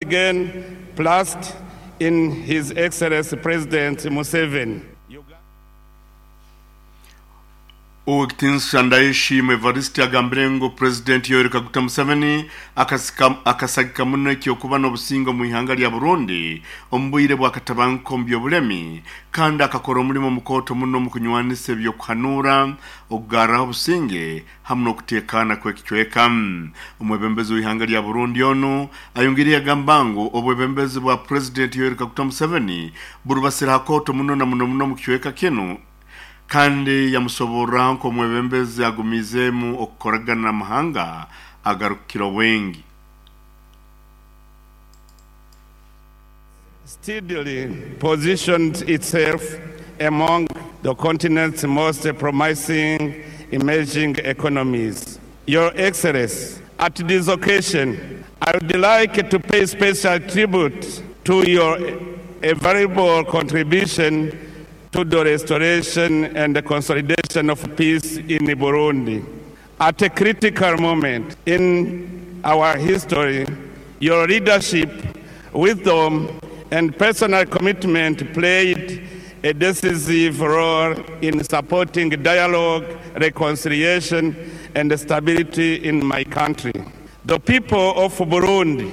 again placed in His Excellency President Museveni. Ow'ekitiinisa Ndayishimwe Evariste agambire ngu Purezidenti Yoweri Kaguta Museveni akasagika muno eky'okuba n'obusinge omu ihanga lya Burundi omu bwire bw'akatabanguko omu by'obulemi kandi akakora omulimo mukooto muno omu kunywanisa eby'okuhanuura, okugarraho obusinge hamu n'okuteekaana kw'ekicweka. Omwebembezi w'ihanga lya Burundi onu ayongiire yagamba ngu obwebembezi bwa Purezidenti Yoweri Kaguta Museveni burubasire ha kooto muno na muno muno omu kicweka kinu kandi yamusoborraho nk'omwebembezi agumiizeemu okukoragana n'amahanga agarukukira obwingi. Steadily positioned itself among the continent's most promising emerging economies. Your Excellency, at this occasion, I would like to pay special tribute to your valuable contribution to the restoration and the consolidation of peace in Burundi. At a critical moment in our history, your leadership, wisdom, and personal commitment played a decisive role in supporting dialogue, reconciliation, and stability in my country. The people of Burundi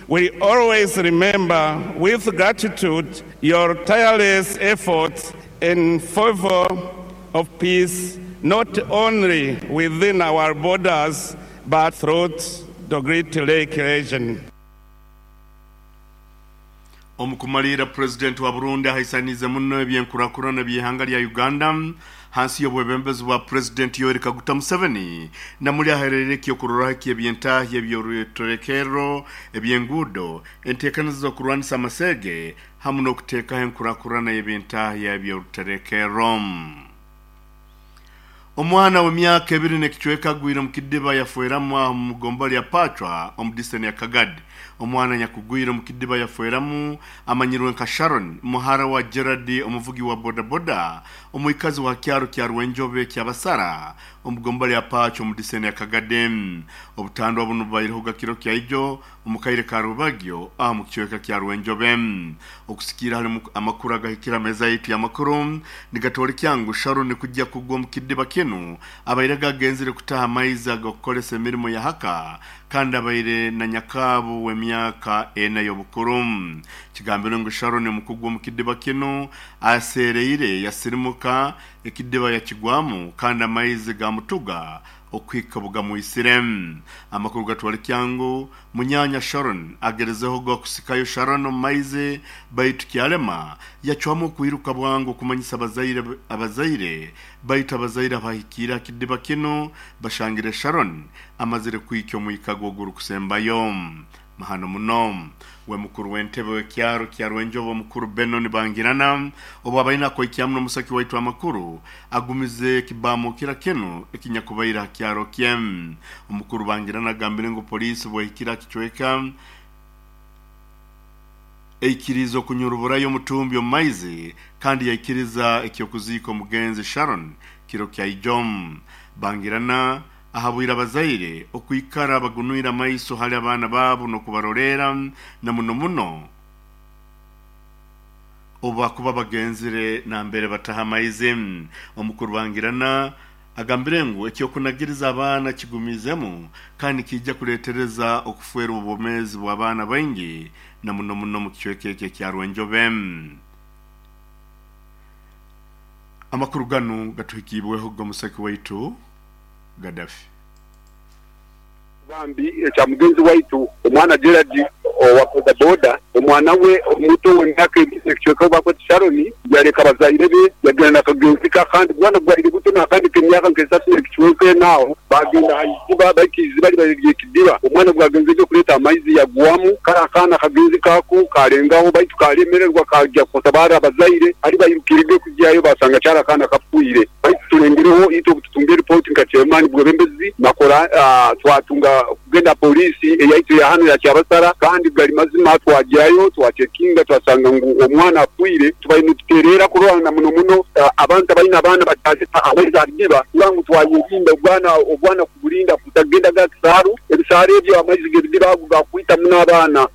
will always remember with gratitude your tireless efforts in favor of peace, not only within our borders, but throughout the Great Lake region. Omu kumaliira, Purezidenti wa Burundi ahaisaniize muno eby'enkurakurana by'eihanga lya Uganda hansi y'obwebembezi bwa Purezidenti Yoweri Kaguta Museveni namuli ahereire eky'okuroraho eky'eby'entahya eby'oruterekerro, eby'enguudo, enteekaniza z'okurwanisa amaseege hamu n'okuteekaho enkurakurana y'eby'entahya eby'oruterekerro. Omwana w'emyaka ebiri n'ekicweka agwire omu kidiba yafweramu aho omu gombolola ya Pacwa omu diseni ya Kagadi. Omwana anyakugwire omu kidiba yafweramu amanyirwe nka Sharon, muhara wa Gerard omuvugi wa bodaboda omwikazi wa kyaro kya Rwenjobe Kyabasara omu gombolola ya Pacwa omu diseni ya Kagadi. Obutandwa bunu bubairehoga kiro kya ijo omu kaire ka rwebagyo aha mu kicweka kya Rwenjobe. Okusikiira hali amakuru agahikire ha meeza yaitu y'amakuru nigatworekya ngu Sharon kujja kugwa omu kidiba kinu abaire agagenzire kutaha amaizi ag'okukoresa emirimo ya haka kandi abaire na nyakaabu w'emyaka ena y'obukuru. Kigambirwe ngu Sharon omu kugwa omu kidiba kinu aseereire yasirimuka ekidiba yakigwamu kandi amaizi gamutuga okuhika obu gamwitsire. Amakuru gatworeka ngu munyaanya Sharon agerezeho ogw'okusikayo Sharon omu maizi baitu kyarema, yacwamu okwiruka bwangu okumanyisa abazaire abazaire baitu abazaire abahikiire aha kidiba kinu bashangire Sharon amazire kwikya omwika gwe ogurikusembayo. Mahano muno. We mukuru w'entebe w'ekyaro kya Rwenjobo omukuru Benon Bangirana obu abaire nakoikyamu n'omusaki waitu amakuru agumize ekibamukira kinu ekinyakubaire aha kyaro kye. Omukuru Bangirana agambire ngu poliisi bwehikire aha kicweka eikiriize okunyuruburayo omutumbi omu maizi kandi yaikiriza eky'okuziika omugenzi Sharon kiro kya ijo. Bangirana Ahabwire abazaire okwikara bagunwire amaiso hali abaana baabo n'okubaroleera, na muno muno obu bakuba bagenzire nambere bataha amaizi. Omukuru Bangirana agambire ngu eky'okunagiriza abaana kigumiizemu kandi nikiija kuleetereza okufeerwa obwomeezi bw'abaana baingi na muno muno omu kicweka eki ekya Rwenjobe. Amakuru ganu gatuhikiibweho Gomusaki waitu Gaddafi. Bambi ekya mugenzi waitu omwana Gerald owa bodaboda, omwana we omuto ow'emyaka ebiri n'ekicweka ou baakweta Sharon yareka abazaire be yagenda na kagenzi ke akandi bwana bwaire buto n'akandi k'emyaka nk'esatu n'ekicweka ena aho baagenda aha iziba baitu eiziba ribaire riri ekidiba. Omwana bwagenzegye kureeta amaizi yagwamu kare akaana kagenzi ke ako kaarengaho baitu kaaremererwa kaagya kutabaara abazaire hari bairukirege kugyayo baasanga kyari akaana kafiire. Baitu tulengereho itwe obu tutunga eripooti nka chairman bwebembezi nakora twatunga kugenda aha poliisi eyaitu eya hanu eya Kyabasara kandi gari mazima twagyayo twacekinga twasanga ngu omwana afiire. Tubaire nitutereera kurora na muno muno abantu abaine abaana bataareta amaizi aha bidiba kurora ngu twayerinda obwana obwana kuburinda kutagenda ga kisaaru. Ebisaaru ebyo amaizi g'ebidiba ago gakwita muno abaana.